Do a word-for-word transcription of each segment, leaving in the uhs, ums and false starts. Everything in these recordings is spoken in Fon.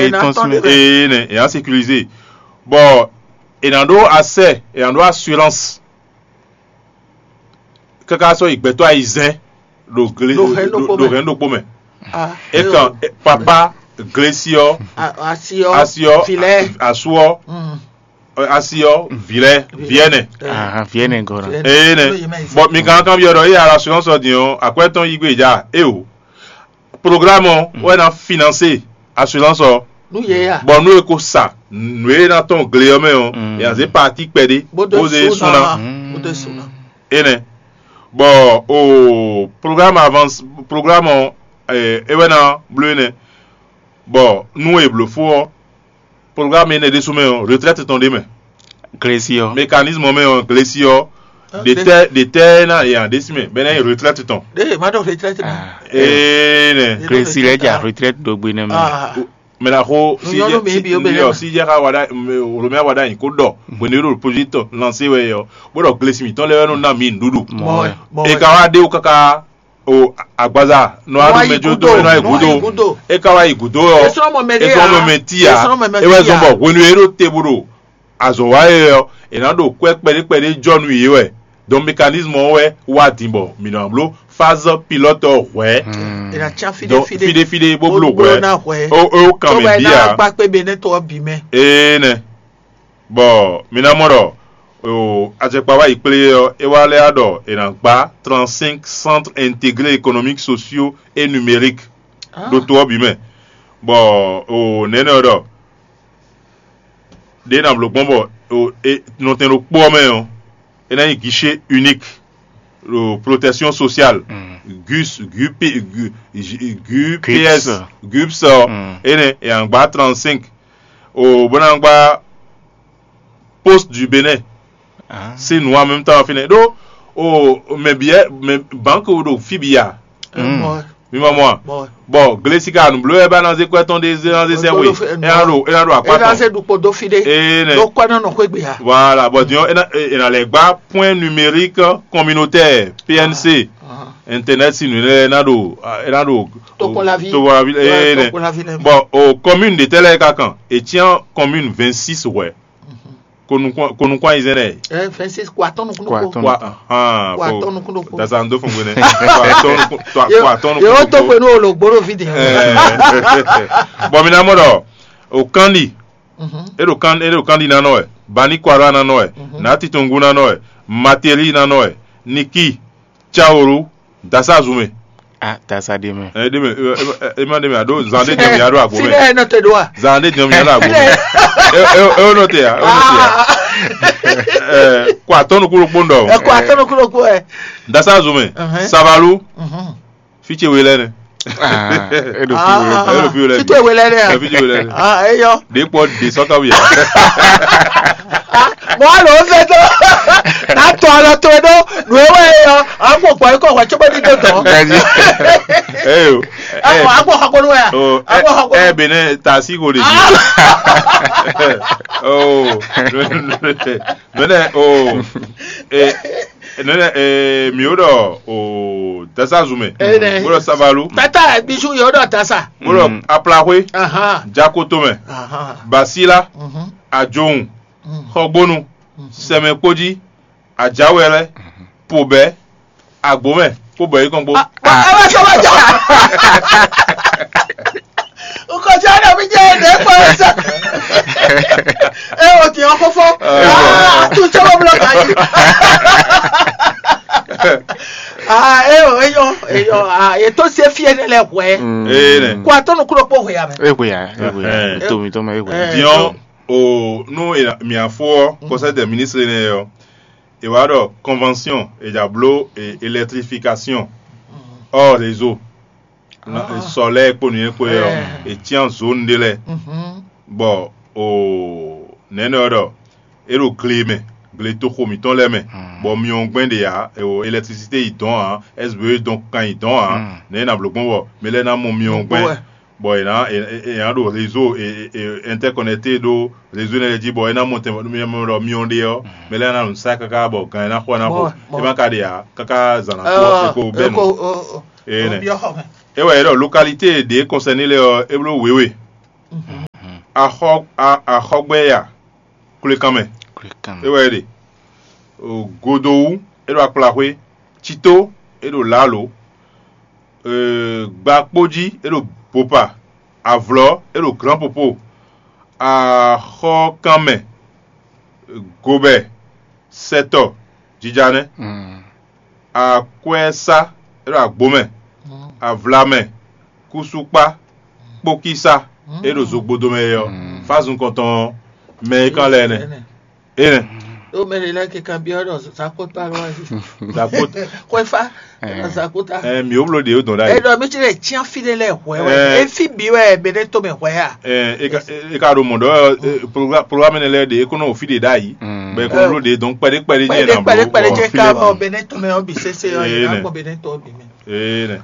Ena tɔn ɖe. Ee nɛ, e ná sécurisé. Bɔ e ná ɖó asɛ, e ná ɖó assurance. Káká sɔ́ yi gbɛtɔ́ ayizɛ́n ɖo gle Ɖo hɛn ɖokpó ɖo mɛ. Hɛn ɖokpó mɛ. Ah, E kan e- papa glesi ɔ, asi ɔ asi ɔ, filɛ. Asu ɔ, Mm. asi ɔ, vilɛ, viɛnɛ. Ahan, viɛnɛ gɔ́ na. Ee nɛ. Bɔn mi kan kan byɔ́ ɖɔ e assurance ɔ din ɔ, akwɛ́ tɔn yí gbe ja e o. Programme ɔ wɛ ná financer assurance ɔ. Nu yɛ ya. Bɔn nú e ko sa nǔ e ná tɔn gle ɔ́ mɛ ɔ́, Mm. e ná zé parti kpɛɖé Bó dó bó zé sú ná. Bó dó sú ná. Enɛ. Bɔ o programme avance, programme ɔ, e wɛ ná bló enɛ. Bɔ nú e bló fó ɔ, programme enɛ ɖésú mɛ ɔ, retraite tɔn ɖé mɛ. Glesi ɔ. Mécanisme mɛ ɔ, glesi ɔ, Ah, ɖe tɛ ɖe tɛ ná e aɖésí mɛ bɛnɛ retraite tɔn. Ɖe ma ɖo retraite mɛ. Ah, Ee nɛ. Glesi lɛ ja retraite ɖo gbe nɛ mɛ. Ah. Mɛ na xo si Nyɔnu jɛ mi si bi o bɛ yɔ lɛ. Si jɛ xa wa ɖa, Romɛ wa ɖa nyi ko ɖɔ bɔ ne ɖo projet tɔn lancer wɛ yɔ, bó ɖɔ glesi mǐtɔn lɛ wɛ nɔ ná mi nuɖuɖu. Mɔ wɛ. Mɔ E wɛ. Ka wá ɖe wo káká o agbaza nɔ Wá aɖu yi mɛ jó gúdo, dó nɔ yi nɔ yi gúdo. Gúdo. E ka wá yi gúdo ɔ. Esɔmɔ mɛ ɖe Esɔmɔ ya. Mɛ ti ya. Esɔmɔ mɛ E wɛ ti zɔn ya. Bɔ hwenu e ɖo te bó ɖo azɔ wa e ɔ, e ná ɖo kwɛ kpɛɖé kpɛɖé jɔ nú yě wɛ. Donc mécanisme ɔ́ wɛ wá din bɔ mǐ ná bló phase pilote ɔ́ hwɛ̌. Hmm. E na tsa fide Donc fide. Fide fide bó bló hwɛ̌. Na hwɛ̌. O o kan Tó mɛ bɛ bí ná a. Gba kpé be nɛ tɔ ɔ́ bǐ mɛ. Ee nɛ. Bɔ mi ná mɔ ɖɔ o ajɛkpa wá yi kplé ɔ́, é wá lɛ́ ɖɔ è nǎ gbá trente-cinq centres intégrés économiques, sociaux et numériques. Ah. Ɖo to ɔ́ bǐ mɛ. Bɔ o nɛnɛ ɔ́ ɖɔ ɖě ná bló gbɔn bɔ o e nɔtɛn ɖokpó ɔ́ mɛ ɔ́, é ná nyí guichet unique ɖo protection sociale. Mm. Gus gup gu- gu- gups Gups. Gups ɔ Mm. Énɛ́ è nǎ gbá trente-cinq o bó ná gbá poste du Bénin. Ah. Sín nǔ en même temps fínɛ́ ɖó o mɛ bǐ mɛ banque ɖo fí bǐ ya. Mm. Mi ma mɔ a? Bɔ glesi ka nu bló ɛ ba na zé kwɛ tɔn ɖe zé na zé sɛ we. Ena ɖo ena ɖo akpa tɔn. Ena zé ɖukpo dó fi ɖe. Ee nɛ. Ɖó kwɛ nɔ nɔ xwé gbe ha. Voilà, bɔ diɔ ena ena lɛ gba point numérique communautaire P N C. Internet si nu ne ena ɖo ena ɖo Tokpɔlavi. Tokpɔlavi ee nɛ. Bɔ o commune de tɛlɛ ka kan etian commune vingt-six wɛ. Ko nukun ko nukun ayi zɛnɛ. Ɛ fɛn se ko atɔn nukun Ko nukun. Atɔn. Ko a- ahan Ko ko atɔn nukun nukun. Dasa n do fun gbene. Ko atɔn nukun to ko atɔn nukun. Yóò tó pé ní olùgbòrò fìdí. Bɔn mi na mɔ dɔ o kandi e do kan e do kandi nanɔ ɛ bani kwara nanɔ ɛ na titungu nanɔ ɛ materi nanɔ ɛ niki Caoro dasa zumɛ. Ah, dasa ɖe mɛ. Ɛ ɖe mɛ ɛ ɛ ɛ ma ɖe mɛ a ɖo zan ɖe jɛ mi a ɖo agbo mɛ. Fine ɛ nɔ te ɖo a. Zan ɖe jɛ mi a ɖo agbo mɛ. Ɛ ɛ ɛ o nɔ te ya o nɔ te ya. Ɛ kɔ atɔnu kulo kpo ndɔ. Ɛ kɔ atɔnu kulo kpo ɛ. Dasa zumɛ. Savalu. Fitse we lɛ nɛ. Ah, e ɖo fi we. E ɖo fi we lɛ. Fitse we lɛ nɛ. Fitse we lɛ nɛ. Ah, eyɔ. De kpɔ de sɔkawu ya. Mɔ alo fɛ dɔ. Na tɔ alɔ to ɖo nu e wɛ yɔ. Agbɔ gbɔ ikɔ wɛ tso bɛ di do dɔ. Eyo. Agbɔ agbɔ xɔkpɔnu wɛ. Agbɔ xɔkpɔnu. Ɛ bene tasi ko de. Oh. Mene oh. Eh. Nene eh, mi o ɖɔ o dasa zumɛ. Enɛ. O ɖɔ sabalu. Tata bisu yɔ ɖɔ tasa. O ɖɔ aplaxwe. Ahan. Jakotomɛ. Ahan. Basila. Ajohun. Xɔgbonu. Sɛmɛkpodzi. Ajawɛlɛ. Pobɛ. Agbomɛ. Kó bɔ yí kɔn gbó. Ɛ bɛ sɔ bɛ ja. Nkɔtí ɔ̀nà mi jẹ́ èdè pọ̀ ẹ̀sẹ̀. Ẹ ò tì ọ́ fọ́fọ́. Àtúnṣe wọ́n búlọ̀ ká yìí. Ah, ẹ ò eyọ eyọ ah ètò ṣe fi ẹni lẹ hùwẹ́. Ee nɛ. Kó atọ́nu kúrò pọ̀ hùwẹ́ yà mẹ́. Egbè ya, egbè ya. Ètò mi tó mọ egbè ya. Diɔn o nu miafo conseil des ministres nɛ yɔ. E wa ɖɔ convention e dza bló électrification hors réseau. Sɔlɛ kpo nǔnywɛ́ kpo ɛ ɔ, e cyán zone ɖé lɛ́ɛ, bɔ o nɛ̌nɛ ɔ́ ɖɔ é ɖo gle mɛ, gletoxo mǐtɔn lɛ́ɛ mɛ, bɔ myɔ gbɛn ɖe ǎ, o électricité yi dɔn ǎ, S B E dɔn kan yi dɔn ǎ, nɛ̌ nǎ bló gbɔn bɔ mɛ lɛ́ɛ ná mɔ myɔ gbɛn, bɔ è nǎ è nǎ ɖo réseau interconnecté ɖó réseau énɛ́ lɛ́ɛ jí, bɔ é ná mɔ tɛn mɛ ɖɔ myɔ ɖe ɔ́, mɛ lɛ́ɛ ná nǔ sa káká bɔ gan é ná xɔ ná xo, é má ka ɖe ǎ, káká zǎn ná kú ɔ́, é ko bɛ́ nǔ. Énɛ́. É wɛ é ɖɔ localité ɖě concerné lɛ́ɛ ɔ́, é bló wěwe. axɔ a- axɔgbɛ́ya, kwlekanmɛ, é wɛ é ɖe. O, Godowu, é ɖo akplaxwé. Cito, é ɖo lǎlo. Gbakpójí, é ɖo Bopa. Avlɔ̌, é ɖo Glǎnpopo. Axɔkanmɛ, Gobɛ, sɛtɔ, jija nɛ́. Akwɛ́sá, é ɖo Agbomɛ. Avlamɛ, Kúsúkpá, Kpókísá, é ɖo Zogbodomɛ é ɔ́. Fázun kɔntɔn ɔ́, mɛ e kán lɛ́ɛ nɛ́. Énɛ́. Ɖó mɛ ɖé lɛ́ɛ ke kanbyɔ́ ɖɔ zakota lɔ wɛ. Zakota. Xwéfá, zakota. Ɛ mi wo blo ɖe o dɔn ɖ'ayǐ. Eɖɔ mi ti lɛ tian fi ɖé lɛ hwɛ wɛ. Ɛ. Efi bi wɛ bɛ ɖe to mɛ hwɛ a. Ɛ e ka e ka ɖo mɔ ɖɔ ɛ, progra- programme ne lɛ ɖe e kɔnɔ o fi ɖe ɖ'ayǐ. Bɛ e kɔnɔ blo ɖe dɔn kpɛɖe kpɛɖe jɛ na blo. Kpɛɖe kpɛɖe jɛ ka bɔ bɛ ne to mɛ ɔ bi sese ɔ yɛ na gbɔ bɛ ne to ɔ bi mɛ. Énɛ́.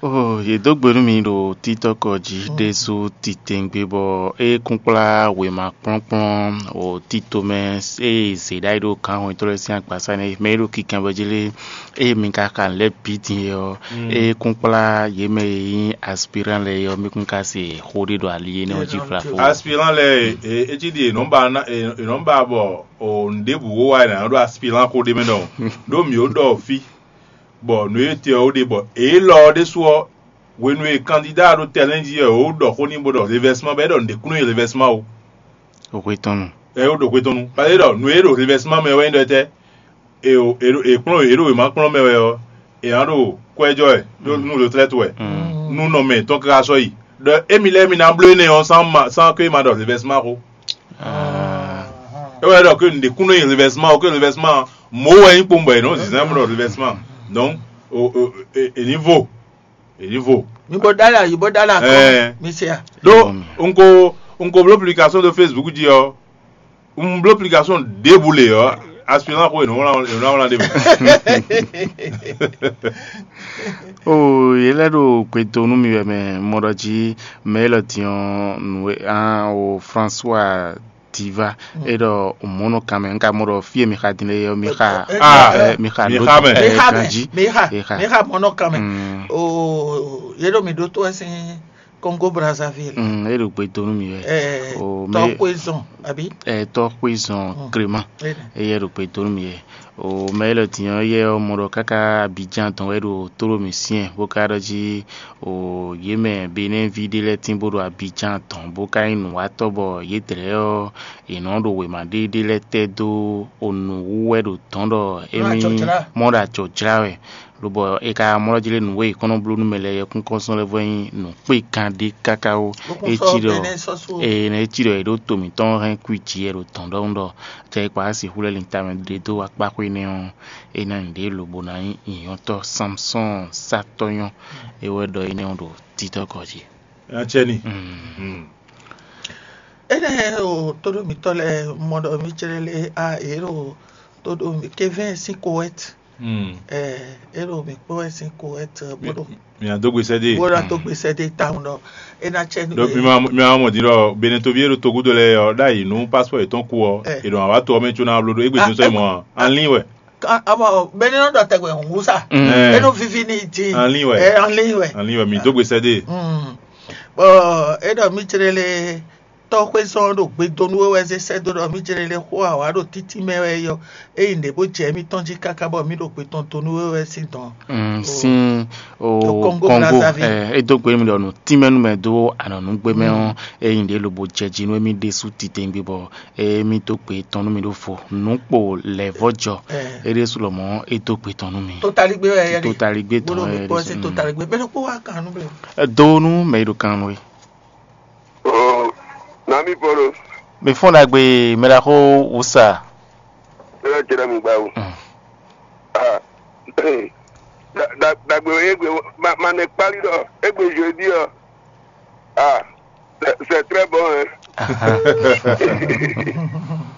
Oo, yě dó gbe nú mi ɖo títɔ́kɔ jí ɖésú titewungbe bɔ é kún kplá wěma kplɔ́nkplɔ́n o tito mɛ e zě ɖ'ayǐ ɖo gǎnhwɛntɔ́ lɛ́ɛ sín agbasá nɛ́ mɛ e ɖo kikanbyɔ́ jí lé, ée mi ka xa nǔ lɛ́ɛ bǐ din é ɔ́, é kún kplá yě mɛ e nyí aspirán lɛ́ɛ é ɔ́, mí kún ka se xó ɖé ɖo ali énɛ́ ɔ́ jí flafó. Aspirán lɛ́ɛ e e cí ɖi è nɔ́ ba ná è nɔ́ ba bɔ o nǔ ɖěbǔ wó wá è nǎ nɔ́ ɖó aspirán xó ɖé mɛ ɖɔhun, ɖó mǐ ó ɖɔ fí. Bɔ nǔ e te ɔ́ ó ɖe bɔ élɔ́ ɔ́ ɖésú ɔ́, hwenu e kandída ɖo tɛlɛ́n jí wɛ ó ɖɔ xó n'i bó ɖɔ revɛsima bɔ é ɖɔ nǔɖé kún nɔ nyi revɛsima ó. Hwe tɔn nu. Ɛ ó ɖo hwe tɔn nu. Pase ɖɔ nǔ e ɖo revɛsima mɛ wɛ nyí ɖɔ tɛ́? È è kplɔ́n è ɖo wěma kplɔ́n mɛ wɛ ɔ́, è nǎ ɖo kwɛ́ jɔ wɛ ɖó nú retraite wɛ. Nú nɔ mɛ tɔn káká sɔ́ yi. Ɖɔ émi lɛ́ɛ mi ná bló énɛ́ ɔ́ sán ma sán ké ma ɖɔ revɛsima xó. É wɛ ɖɔ ké nǔɖé kún nɔ nyi revɛsima ó, ké revɛsima mɔ̌ wɛ nyí kpowun bɔ è nɔ zǐnzán bó ɖɔ revɛsima. Donc è ní vo. È ní vo. Mi bó dá là yìí bó dá là kọ́. Ɛɛ. Mi se à. Ɖó un ko un ko bló publication ɖo Facebook jí ɔ́, un bló publication ɖěbǔ lě ɔ́, aspirant xo è nɔ wlán è nɔ wlán ɖě mɛ. Oo, yě lɛ́ ɖo gbe do nú mi wɛ mɛ mɔ ɖɔ jí mɛ élɔ́ din ɔ́ nǔ e o François Diva é ɖɔ mɔ̌ nɔ kan mɛ un ka mɔ ɖɔ fí e mi xa din lé ɔ́ mi xa Ah, ɛ, mi xa mi ɖó xa mɛ. Mi xa mɛ, ganjí. Mi xa, Yi xa. Mi xa mɔ̌ nɔ kan mɛ. Mm. Oo, yě ɖo mi ɖótó wɛ sín Congo Brazzaville. Mm, é ɖo gbe do nú mi wɛ. Ɛ, O, mɛ Tɔxwezɔn, àbí? Ɛ, tɔxwezɔn Clément. Énɛ́. Eye ɖo gbe do nú mi wɛ. O, mɛ élɔ́ din ɔ́ yɛ ɔ́ mɔ ɖɔ káká Abidjan tɔn wɛ ɖo tóɖó mǐ syɛ́n bó ka ɖɔ jí o yě mɛ Benɛ́ví ɖé lɛ́ɛ tín bó ɖo Abidjan tɔn bó ka nyí nǔwatɔ́ bɔ yědɛɛ ɔ́, è nɔ ɖo wěma ɖé ɖé lɛ́ɛ tɛ́ dó o nǔ wú wɛ ɖo dɔ̌n ɖɔ émí mɔ ɖo ajɔ̌ jlá wɛ. Lobɔ è ka mɔ ɖɔ jí lé nǔ e è kɔn nɔ bló nú mɛ lɛ́ɛ yɛkúnkɔ́nsɔ́n lɛ́ɛ vɔ nyí nǔkpé kan ɖé káká ó. É cí ɖɔ ene é cí ɖɔ è ɖó to mǐtɔn hɛn kwí jǐ wɛ ɖo dɔ̌n ɖɔhun ɖɔ jɛ e kpa sixú lɛ́ lin tamɛ ɖe dó akpáxwé nɛ́ ɔ́, é ná nyí ɖě lobo ná nyí nyǐnyɔ́tɔ́ Samsɔ́ɔn sátɔ́ nyɔ́. É wɛ ɖɔ énɛ́ ɔ́ ɖo títɔ́ gɔ̌ jí. Acɛni. Énɛ́ o tóɖó mǐtɔn lɛ́ɛ mɔ ɖɔ mí cɛ́ɖɛ́ lé a yě ɖo tóɖó mǐ kévɛ́n sín kowɛ́t. Ɛ é ɖo mǐ kpɔ́n wɛ sín kowɛ́t bó ɖo Mia dó gbe sɛ́ dé. Bó ɖo tó gbèsè dé tawun ɖɔ é ná cɛ nú Ɖo mi ma mi ma mɔ din ɖɔ Benetovi e ɖo togudo lɛ́ɛ ɔ́ ɖ'ayǐ nú passport yětɔn kú ɔ́, Ɛ. È ɖo wǎ to ɔ́ mɛ có ná bló ɖó égbé Ah, tún sɔ́ ɛ- mɔ anlín wɛ. Ɔmɔ bɛnɛ nɔ ɖɔ tɛgbɛ hǔn sa. Mm. Ɛ. Enu vivi ni ti. Anlín wɛ. Ɛ anlín wɛ. Anlín wɛ mi dó gbe sɛ́ dé. Mm. Bɔ e ɖɔ mi jere le tɔxwezɔn ɖo gbedo nú we wɛ zé sɛ́ dó ɖɔ mi jere le xó awǎ ɖo títí mɛ wɛ yɔ. Eyi nɖě bó jɛ émítɔn jí káká bɔ mí ɖo gbe tɔn do nú we wɛ sín dɔn. Mm, sín o Congo Congo Brazzaville. Ɛ é dó gbe mi ɖɔ nǔ tínmɛ nú mɛ dó anɔ̌núgbé mɛ ɔ́, é nyí ɖě lobo jɛ jí nú émí ɖésú titewungbe bɔ émí dó gbe tɔn nú mi ɖó fo. Nǔ kpo lɛ̌ vɔ́ jɔ, Ɛ. É ɖésú lɔmɔ̌ é dó gbe tɔn nú mi. Totaligbé wɛ yɛ ɖe. Totaligbé tɔn Bolo wɛ mi kpɔ ɖésú. Ɛsɛ Mm. Totaligbé. Mɛ ɖokpó wá kan nú mɛ. Ɛ, do nú mɛ yi ɖo kan nú we. Oh, nami Paulo, Mi fɔ́n ɖagbe mɛ ɖaxó wǔsa. Ela jɛ ɖe mi gba o. Mm. Ah, da- da- dagbe o egbe ma ma ne kpali ɖɔ egbe jeudi ɔ. Ah, c'est c'est très bon hein. Aha.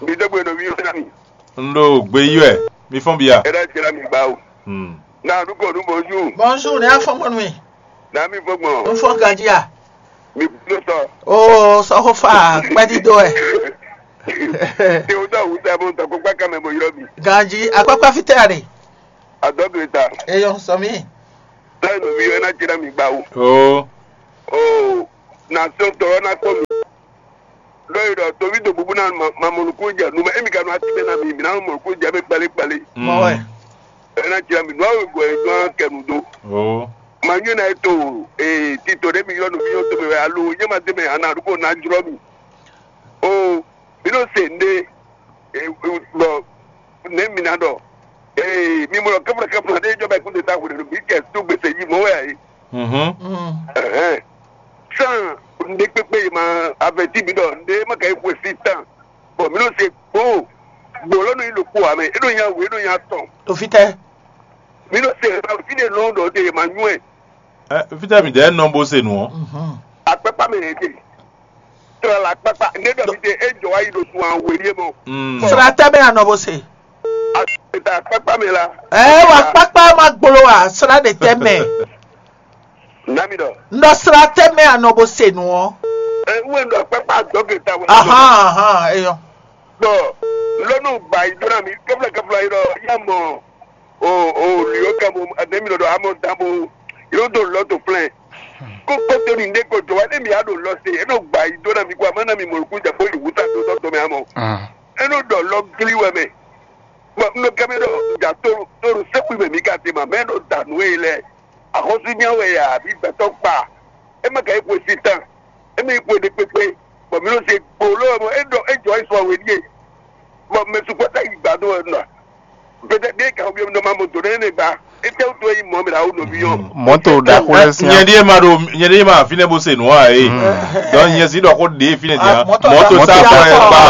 Mi dɔgbe no mi yɔ na mi. N ɖo gbe yi wɛ, mi fɔn bia. Ela jɛ ɖe mi gba o. Hmm. Na du ko du bonjour. Bonjour, ne afɔ mɔnu mi. Na mi fɔ gbɔn. N fɔ gadia. Mi kudo sɔ. Oo, sɔxofa kpɛdido ɛ. Te o dɔ wuta bo tɔ kpakpa kan mɛ bo yɔ mi. Ganji akpakpa fitɛ are. Adɔ do eta. Eyɔ sɔmi. Tɛ no mi yɔ na jira mi gba o. Oo. Oo. Na sɔ tɔ na ko mi. Ɖɔ yi ɖɔ toví do bubu ná ma mɔ nukún jɛ nu mɛ émi ka nɔ ati mɛ na mi mi ná mɔ nukún jɛ mɛ kpali kpali. Mɔ wɛ. Ena jira mi nua wegɔ e nua kɛ nu do. Oh. Ma nyɔ na eto ee tito ɖe mi yɔ nu mi yɔ to mɛ wɛ alo nyɛ ma de mɛ ana ɖo ko na jlɔ mi. O mi nɔ se nde ee bɔ ne mi na dɔ ee mi mɔ kɛfla kɛfla ɖe jɔ bɛ kun de ta hu de mi kɛ tu gbese yi mɔ wɛ ayi. Mhm. Ɛhɛn. Sàn nde kpekpe yi ma avɛti mi dɔ nde ma ka yi xwe si tan. Bɔn mi nɔ se kpo gbolɔ nɔ yi ɖo kpo amɛ e nɔ nya wu e nɔ nya tɔn. To fitɛ. Mi nɔ se ha fi de lɔn dɔ de ma nyuɛ. Ɛ fitɛ mi dɛ nɔ bo se nu ɔ. Akpɛkpa mɛ yɛ de. Tra la akpɛkpa ne dɔ mi de e jɔ wa yi ɖo sun awe ɖie mɔ. Mm. Sra tɛ bɛ anɔ bo se. Akpɛkpa akpɛkpa mɛ la. Ɛ wa kpakpa ma gbolo wa sra de tɛ mɛ. Nami dɔ. Nɔ sra tɛ mɛ anɔ bo se nu ɔ. Ɛ wɛ dɔ akpɛkpa dɔ ke ta wɛ. Ahan ahan eyɔ. Bɔn lɔnù gba yi dó na mi kɛfla kɛfla yi dɔ ya mɔ o o liyo kɛ mo ademi dɔ amɔ dan bo yóò do lɔ to plɛn. Kó kótó ni ndé ko jɔ wá ní mi á ɖo lɔ se é nɔ gba yi dó na mi kó a má na mi mɔ nukún jɛ bó yi wúta dó tɔ́ tɔ́ mɛ amɔ. É nɔ ɖɔ lɔ gli wɛ mɛ. Bɔn un nɔ kɛ mi ɖɔ ja tóru tóru sɛkui mɛ mi ka te ma mɛ ɖo da nǔ e lɛ. Axɔ́sú nya wɛ ya àbí gbɛtɔ́ kpa. É má ka yi xwe si tán. É má yi xwe ɖé kpékpé. Bɔn mi nɔ se gbolo mɔ é ɖɔ é jɔ é sɔ we ɖíe. Bɔn mɛ sukpɔ́ tá yi gbadó wɛ nɔ. Peut-être ɖé kan xɔ bi nɔ ma mɔ dǒ nɛ ne gba. Étɛ́ wútu é nyí mɔ̌ mɛ ɖo awu nɔví ɔ́? Mɔ̌to ɖaxó lɛ́ɛ sín. Nyɛ ɖíe ma ɖo nyɛ ɖíe ma fínɛ́ bó se nǔ ǎ é. Donc nyɛ sí ɖɔ xó ɖě fínɛ́ din. Ah, mɔ̌to Mɔ̌to ɖaxó sá lɛ́ɛ fɔ ɛ sín. Kpa.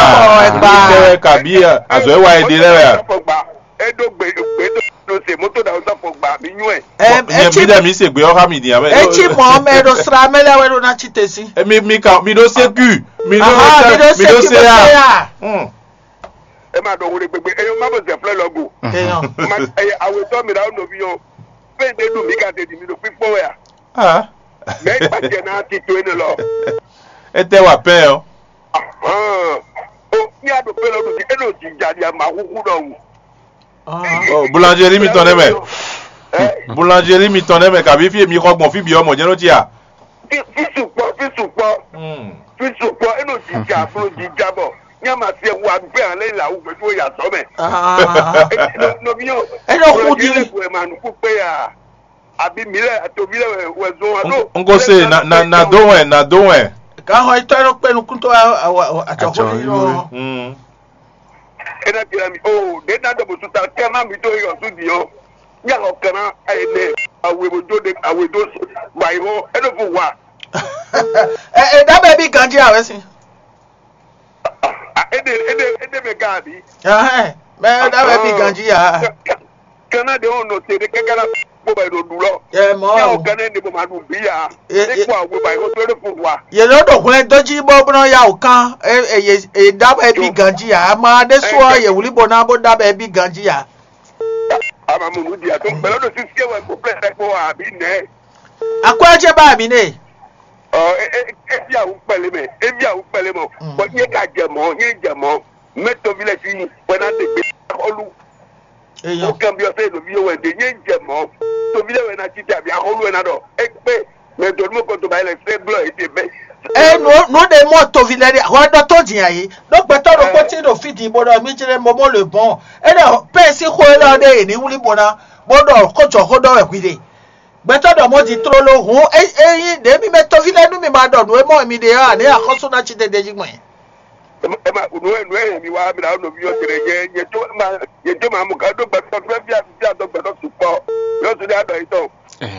Kpa ɛ kpa. Bí azɔ̌ é wa é ɖe lɛ́ɛ wɛ a? Fɔ gba. É ɖó gbe gbe ɖó se mɔ̌to ɖaxó sá fɔ gba mi nyú ɛ. Ɛ Nyɛ ɛ bí dɛ mi se gbé ɔ́ xá mi din abɛ. Etsi mɔ̌ mɛ ɖo sra mɛ lɛ́ɛ wɛ ɖo ná tsi te sí. Mi mi ka mi ɖó sécu. Mi ɖó Aha, mi ɖó mi ɖó sécu sé bɛ a. Sé a. Hmm. E ma ɖɔ wo ɖe gbegbe eye ma bɔ zɛ flɛ lɔ go. Eyɔn. Ma eye awetɔ mi ɖa wo nɔvi yɔ. Fɛn ɖe ɖu mi ka te di mi ɖo kpikpɔ wɛ a? Ah. Mɛ e gba jɛ na ti to ene lɔ. Etɛ wa pɛ ɔ. Ahan. O mi a ɖo pe lɔ ɖu di e ɖo dzi dza di a ma huhu ɖɔ wu. Oh, boulangerie mitɔn ɖe mɛ. Ɛ Boulangerie mitɔn ɖe mɛ kabi fi mi xɔ gbɔn fi bi ɔmɔ jɛ ɖo ti a. Fi fi sukpɔ fi sukpɔ Hmm. fi sukpɔ e nɔ dzi dza blo dzi dza bɔ nya ma se wa gbɛ ale la wu gbɛdu ya zɔ mɛ. Ah. Nɔvinyɔ. E nɔ xu di. Lɛ gbɛ ma nuku kpe ya. Abi mi lɛ atobi lɛ wɛ zɔn wa do. N ko se na na na do wɛ na do wɛ. Kan xɔ itɔ e nɔ kpe nukun to atsɔxɔ yi nɔ. Hmm. E na jira mi o ɖe na dɔ bo tuta kɛ na mi to yɔ su di ɔ. Nya xɔ kɛ na ene awe bo jo de awe do ba yi xɔ e nɔ fo wa. Ɛ ɛ da bɛ bi ganji awɛ si. Ede ede ede mɛ ga abi. Ɛhɛn, mɛ da bɛ bi ganji ya. Kana de o nɔ te de kɛkɛ la kpɔ bɛ do du lɔ. Ɛ mɔ. Nya o kana ne bo ma du bi ya. E kpɔ awe ba yi xɔ to e nɔ fo wa. Ye lɔ ɖo hwlɛn dó jí bó bó nɔ ya wò kán. E e ye e da bɛ bi ganji ya. Ama ɖe sɔ ye wuli bo na bó da bɛ bi ganji ya. Ama mo nu di ato bɛlɛ do sisi wɛ ko plɛ ko abi nɛ. Akwɛ jɛ ba mi ne. Ɔ e e e bi awu kpɛlɛ mɛ e bi awu kpɛlɛ mɔ bɔn nye ka jɛ mɔ nye jɛ mɔ mɛ tovi lɛ si wɛ na de gbe olu. Eyɔ. O kan bi ɔsɛ lovi yɛ wɛ de nye jɛ mɔ tovi lɛ wɛ na titi abi aholu wɛ na dɔ e kpe mɛ dɔnni mo kɔntɔ ba yi lɛ fɛ blɔ e te bɛ. E nu nu de mɔ tovi lɛ de hɔ dɔ to di ayi ɖo gbɛtɔ ɖo kpɔti ɖo fi di bo ɖɔ mi jɛ mɔmɔ le bɔn e ɖɔ pɛsi xo e lɔ de yi ni wuli bo na bo ɖɔ ko jɔ xo ɖɔ wɛ hwi de. Gbɛtɔ ɖɔ mɔ di tlolo hǔn ényí ɖě mi mɛ toví lɛ́ɛ nú mi ma ɖɔ nǔ e mɔ mi ɖe ɔ́, ǎ ní axɔ́sú ná cí tɛtɛ jí gbɔn. Ema nǔ e nǔ e mi wa mi ɖa nɔví yɔ tere yɛ yɛ tó ma yɛ tó ma mú ká ɖó gbɛtɔ fúnfún fíà fíà dó gbɛtɔ sukpɔ yɔ tó dé adɔ yìí tɔ.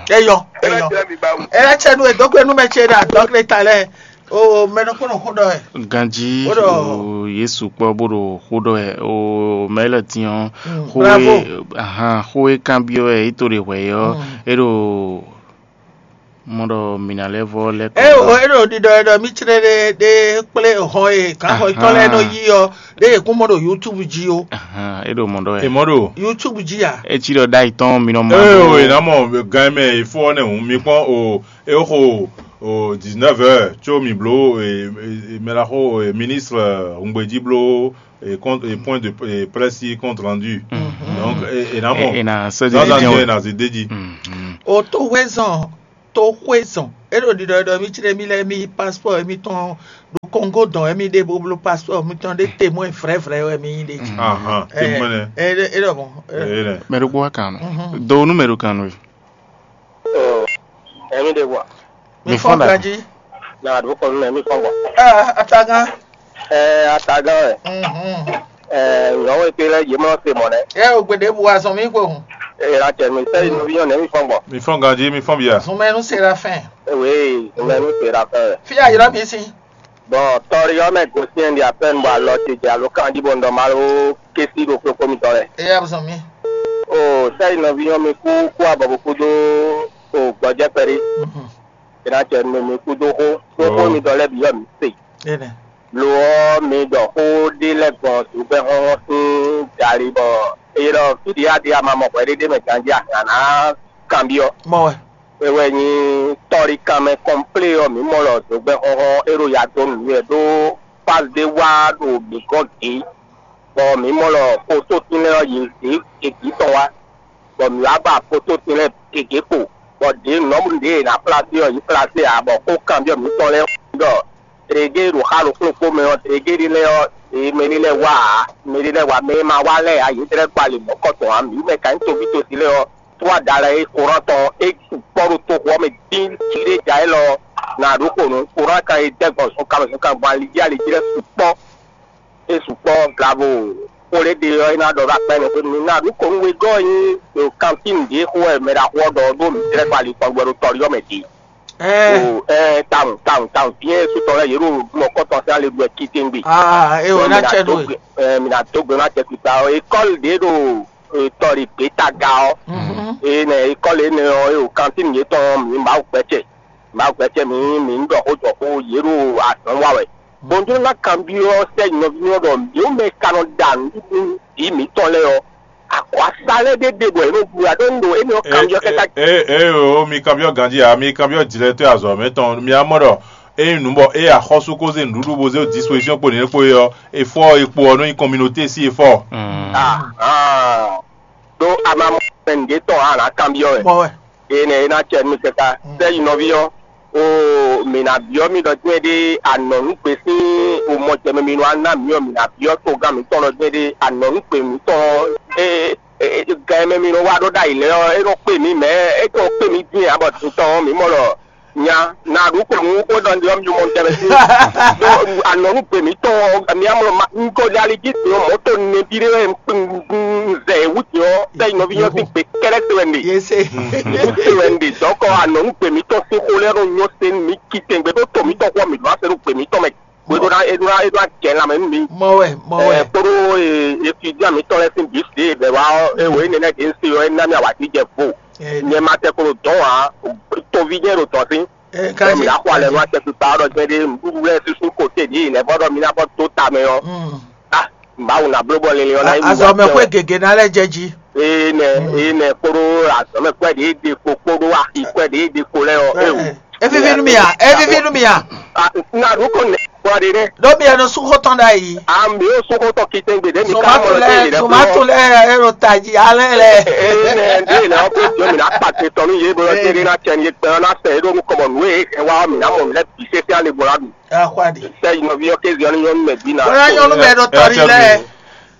Eyɔ ema eyɔ. Tẹ mi ba wù. Ela tsɛ nu edógbe nú mɛ ce ɖe adɔgble ta lɛ o mɛ nɔ kpɔnɔ xó ɖɔ ɛ. Ganji Ó ɖɔ- o Yesu kpɔ bó ɖo xó ɖɔ ɛ o mɛ lɛ tiɲɔ Mm, xó bravo. E ahan xó e kanbyɔ ɛ yí to ɖe hwɛ yɔ Mm. E ɖo mɔ ɖɔ mǐ ná lɛ́ vɔ lɛ́ kɔ. Eo e ɖo ɖiɖɔ e ɖɔ mì clé ɖe ɖe kplé hɔn e gǎnhɔn yětɔn lɛ́ɛ nɔ yí ɔ́ ɖe yě kún mɔ ɖo YouTube jí ó. Ahan, e ɖo mɔ ɖɔ wɛ. Èmɔ ɖo. YouTube jí a? Etsi ɖɔ ɖ'ayǐ tɔn mi nɔ ma Ee o, ɖó. È nǎ mɔ gan mɛ ìfó ɔ́ nɛ́ hǔn. Mi kpɔ́n o, é xo o dix-neuf heures có mi bló e, e, e, mɛ ɖaxó e, ministre Hungbeji bló e, compte- e, point de e, presse compte rendu. Donc e, è nǎ mɔ. E, e na sɔ́ Dans un dídí instant, wɛ. È nǎ zé dé jí. Mhm. O tó hwezɔn tó xwezɔn é ɖo ɖiɖɔ ɖɔ mì clé mì lɛ́ɛ mì yí passeport émítɔn ɖo Kɔngo dɔn wɛ mi ɖe bó bló pasipɔ́ mitɔn ɖé te mɔ vrɛ́vrɛ́ wɛ mi nyí ɖe jí. Ahan, te mɔ nɛ. É ɖɔ mɔ. Eye nɛ. Mɛ ɖokpó wá kan nɔ. Do nú mɛ ɖo kan nɔ. Ɛmi ɖe wa. Mi fɔn da. Jí. Na ɖo kɔ nɛ mi fɔn bɔ. Aa atagán. Ɛ atagán wɛ. Nyɔwɔ ete lɛ yě mɔ se mɔ nɛ. Ɛ o gbede bu azɔn mi kpo hun. Ɛ la cɛ mi sɛ yi nɔvi nyɔ nɛ mi fɔn bɔ. Mi fɔn ganji, mi fɔn bia. Zunmɛnu serafin. Ewe zunmɛnu serafin wɛ. Fi ayirɔ mi si. Bɔn tɔri ɔ́ mɛ gosɛn ɖi apɛn bɔ alɔ ce jɛ alo kanji bɔ ndɔ malo kesi ɖo kpokpo mitɔn lɛ. Eya zɔn mi. O sɛ yi nɔvi nyɔ mi kú kú abɔ bó kú dó o gbɔjɛ kpɛɖé. Ena cɛ nu mi kúdó xó, ɖó xó mitɔn lɛ́ɛ bǐ wɛ mǐ se. Lo ɔ́, mi ɖɔ xó ɖé lɛ́ɛ gbɔn zǔgbɛ́ xɔ́xɔ́ sín jali bɔ é ɖɔ fí ɖě a ɖe ama mɔ hwɛɖéɖé mɛ ganjí a hǎn ná kanbyɔ́. Mɔ wɛ. É wɛ nyí tɔ́ɖíkanmɛ kɔnplé ɔ́, mǐ mɔ ɖɔ zǒgbɛ́ xɔ́xɔ́ é ɖo ya dó nǔ nú wɛ ɖó fázi ɖé wá ɖo mǐ gɔ́n gǐ, bɔ mǐ mɔ ɖɔ xótótín lɛ́ɛ ɔ́, yě zě gěgé tɔn wá. Bɔ mǐ wá ba fotótín lɛ́ɛ gěgé kpo, bɔ ɖě nɔ́ ɖě è nǎ plasé ɔ́, yě plasé ǎ, bɔ xó kanbyɔ́ mǐtɔn lɛ́ɛ ɖɔ: "Tlɛgé ɖo xá ɖokpó ɖokpó mɛ ɔ́, tlɛgé ɖé lɛ́ɛ ɔ́, yě mɛ ɖé lɛ́ɛ wá ǎ, mɛ ɖé lɛ́ɛ wá, mɛ e ma wá lɛ́ɛ ǎ, yě tlɛ́ kpa lě mɔ̌kɔtɔn ǎ, mǐ mɛ ka nyí toví tosi lɛ́ɛ ɔ́, tó adala e Koran tɔn é sukpɔ́ ɖo toxo ɔ́ mɛ dín jí ɖé ja élɔ́ ɔ́, nǎ ɖó xo nǔ. Koran ka e dɛ́ gbɔn zunkan mɛ zunkan gbɔn ali jí ali jí lɛ́ɛ sukpɔ́." É sukpɔ́ glavo xó ɖé ɖe ɔ́, é ná ɖɔ ɖó akpá ɛnɛ xwé nú mì. Ná ɖu kɔn nú wegɔ́ ɔ́ nyí ɖo kantín ɖě xó wɛ mɛ ɖaxó ɔ́ ɖɔ ɔ́ ɖó mǐ tlɛ́ kpa ali kpɔn gbɛ ɖo tɔ́ɖí ɔ́ mɛ din. Ɛɛ, tawun tawun tawun, dín é sutɔ lɛ́ɛ yě ɖo mɔkɔ́tɔn sín ale ɖu wɛ kítégbe. Aa, é wɛ ná cɛ nú we. Mǐ ná dó gbe ná cɛ kpikpa ɔ́. Ékɔ́li ɖě ɖo tɔ́ɖí gbětaga ɔ́. Énɛ́ ékɔ́li énɛ́ ɔ́, é ɖo kantín yětɔn ɔ́, mǐ Mawu gbɛ́cɛ. Mawu gbɛ́cɛ mǐ, mǐ ní ɖɔ xó jɔ xó, yě ɖo azɔ̌ wa wɛ. Bɔ un jló ná kanbyɔ́ sɛ́ nɔví ɔ́ ɖɔ mǐ mɛ e ka nɔ ɖa nǔɖuɖu vǐ mǐtɔn lɛ́ɛ ɔ́, akwasa lɛ́ɛ ɖé ɖe bɔ è nɔ ɖu ǎ ɖó un ɖo énɛ́ ɔ́ kanbyɔ́ kɛ́ ká. Ee o, mi kanbyɔ́ ganjí ǎ, mi kanbyɔ́ jlɛtɔ́ azɔ̌ mɛ tɔn, mi wá mɔ ɖɔ ényí nǔ bɔ ée axɔ́sú ko zé nǔɖuɖu bó zé disposition kpo nǐ kpo é ɔ́, efɔ e kpo ɔ́ nɔ nyí communauté sín efɔ. Ɖó a ma mɔ mɛ nǔɖé tɔn ǎ, a nǎ kanbyɔ́ wɛ. Énɛ́ é ná acɛ nú mì káká. Sɛ́ yi nɔví ɔ́, oo, mǐ ná byɔ́ mi ɖɔ jɛ́n ɖé a nɔ nǔ gbe sín omɔjɛmɛ mi nɔ wá ná mǐ ɔ́, mǐ ná byɔ́ togán mǐtɔn ɖɔ jɛ́n ɖé a nɔ nǔ gbe mǐtɔn ɔ́, é gɛn e mɛ mi nɔ wá ɖó ɖ'ayǐ lɛ́ɛ ɔ́, é nɔ kpé mǐ mɛ, é nɔ kpé mǐ dín ǎ, bɔ din tɔn ɔ́, mǐ mɔ ɖɔ nya ná ɖu kplɔ̌n xó ɖɔ nɖe ɔ́, mi mɔ tɛnmɛ sín. Ɖó a nɔ nú gbe mǐtɔn ɔ́, mi amlɔ ma un ko ɖe ali jí din ɔ́, mɔ̌ to nɛbí ɖé wɛ un zɛ yě wú din ɔ́, sɛ́ yi nɔví nyɔ́ sín gbe kɛ́ɖɛ́ se wɛ un ɖe. Yé se. Yě se wɛ un ɖe dɔ̌kɔ a nɔ nú gbe mǐtɔn sín xó lɛ́ɛ nɔ nyɔ́ se nú mǐ citɛngbé ɖó to mǐtɔn xó ɔ́, mǐ ɖó ase ɖo gbe mǐtɔn mɛ. Bó é ɖó ná é ɖó ná é ɖó ná jɛ lanmɛ nú mi. Mɔ wɛ, mɔ wɛ. Ɛ kpódó etudian mǐtɔn lɛ́ɛ sín bǐ se bɛ̌ wá ɔ́, é wǒ énɛ́ lɛ́ɛ ɖě un se ɔ́, é ná mì awǎjijɛ vo. Nyɛ ma tɛ kpo ɖo dɔ̌n ǎ, toví jɛ́n ɖo dɔ̌n sín. Ɛ Bɔ mi ná xɔ alɛ nú acɛkpikpa ɔ́ ɖɔ jɛ́n ɖé nǔɖuɖu lɛ́ɛ sísú kote ɖě nɛ̌ vɔ ɖɔ mi ná vɔ dó ta mɛ ɔ́. Mm. Ah, Mawu ná bló bɔ linlin ɔ́ ná yi nú Azɔ mɛ acɛ xwé wɛ. Gěgé ná lɛ́ jɛ jí. Ee nɛ, ee nɛ kpódó azɔ̌mɛkwɛ́ ɖě ɖe kpo kpódó axikwɛ́ ɖě ɖe kpo lɛ́ɛ ɔ́, é wò. Ɛ, é víví nú mì a? É víví nú mì a? Ah, ná ɖu kɔ nɛ kpɔ ɖe ɖe. Ɖó mi ɛnu sú xó tɔn ɖ'ayǐ. Ah, mi ó sú xó tɔn kitɛngbe ɖě mi ka mɔ Zomatu lɛ lɛ, tɛ́ yě lɛ́ Zomatu lɛ ɛ ɖo tají alɛ lɛ. Ee nɛ, ɖě lɛ ɔ́ kó jɔ mi ná kpa te tɔn nú yě bó lɔ tɛ́ ɖé ná cɛ ní yé gbɛn ɔ́ ná sɛ é ɖó nú kɔmɔ nǔ e é hɛn wá ɔ́, mǐ ná mɔ nǔ lɛ́ bǐ sésé alɛ gbɔn ná ɖu. Axwa ɖi. Sɛ yi nɔví ɔ́ kéze ɔ́ ní nyɔ́ nú mɛ bǐ ná. Bóyá nyɔ́nú mɛ ɖo tɔ́ ɖi lɛ.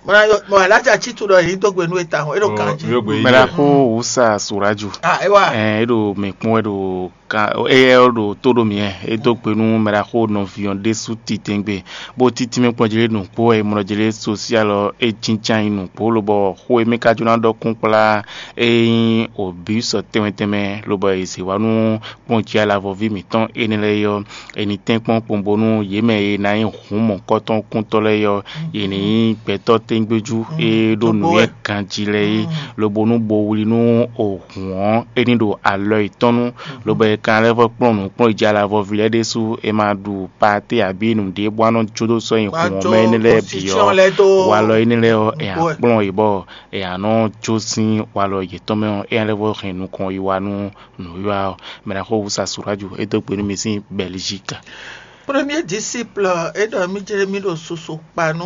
Bóyá mɔ alájà tsítú ɖɔ yě dó gbe nú e tawun, é ɖo kan jí. Mɛ ɖaxó Wusa Suraju. Ah, é wá. Ɛ, é ɖo mǐ kpɔ́n wɛ ɖo kan, éyɛ́ ɔ́ ɖo tó ɖo mǐ wɛ. É dó gbe nú mɛ ɖaxó nɔví ɔ́ ɖésú titɛngbé, bó títí mɛ kpɔ́n jlé nǔkpó wɛ, mlɔ jlé sosial ɔ́, é jínján nyi nǔkpó, lobɔ xó e mɛ ka jló ná ɖɔ kún kplá é nyí obǐ sɔ tɛnmɛ tɛnmɛ, lobɔ è zě wá nú kpɔ́n jí alavɔví mǐtɔn énɛ́ lɛ́ɛ é ɔ́, è nǐ tɛ́nkpɔ́n kpowun bónú yě mɛ e ná nyí hǔn mɔ̌hunkɔtɔn kúntɔ́ lɛ́ɛ é ɔ́, yě ní nyí gbɛtɔ́ tɛ́ngbéjú e ɖó nǔnywɛ́ ganjí lɛ́ɛ é, lobo nú bo wlí nú hǔn ɔ́, é ní ɖo alɔ yětɔn nu, lobo è kan lɛ́ vɔ kplɔ́n nǔkplɔ́njí alavɔví lɛ́ɛ ɖésú, è ma ɖu paté abǐ nǔɖé bó wá nɔ jó dó sɔ́ nyi hǔn ɔ́ mɛ énɛ́ lɛ́ɛ bǐ ɔ́, walɔ énɛ́ lɛ́ɛ ɔ́, è nǎ kplɔ́n yě bɔ è nǎ nɔ jó sín walɔ yětɔn mɛ ɔ́, éyɛ́ lɛ́ vɔ hɛn nukɔn yi wá nú nǔwiwa ɔ́. Mɛ ná xo wúsa Suraju, é dó gbe nú mi sín Bɛlizík. Premier disciple é ɖɔ mì jlé mì ɖo susu kpa nú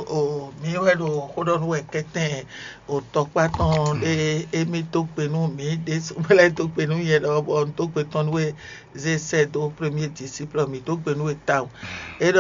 o mì wɛ ɖo xó ɖɔ nú wɛ kɛtɛn o tɔkpá tɔn ɖé émí dó gbe nú mì ɖésú mɛ lɛ́ dó gbe nú nyɛ ɖɔ bɔ un dó gbe tɔn nú we zé sɛ dó premier disciple mì dó gbe nú we tawun. É ɖɔ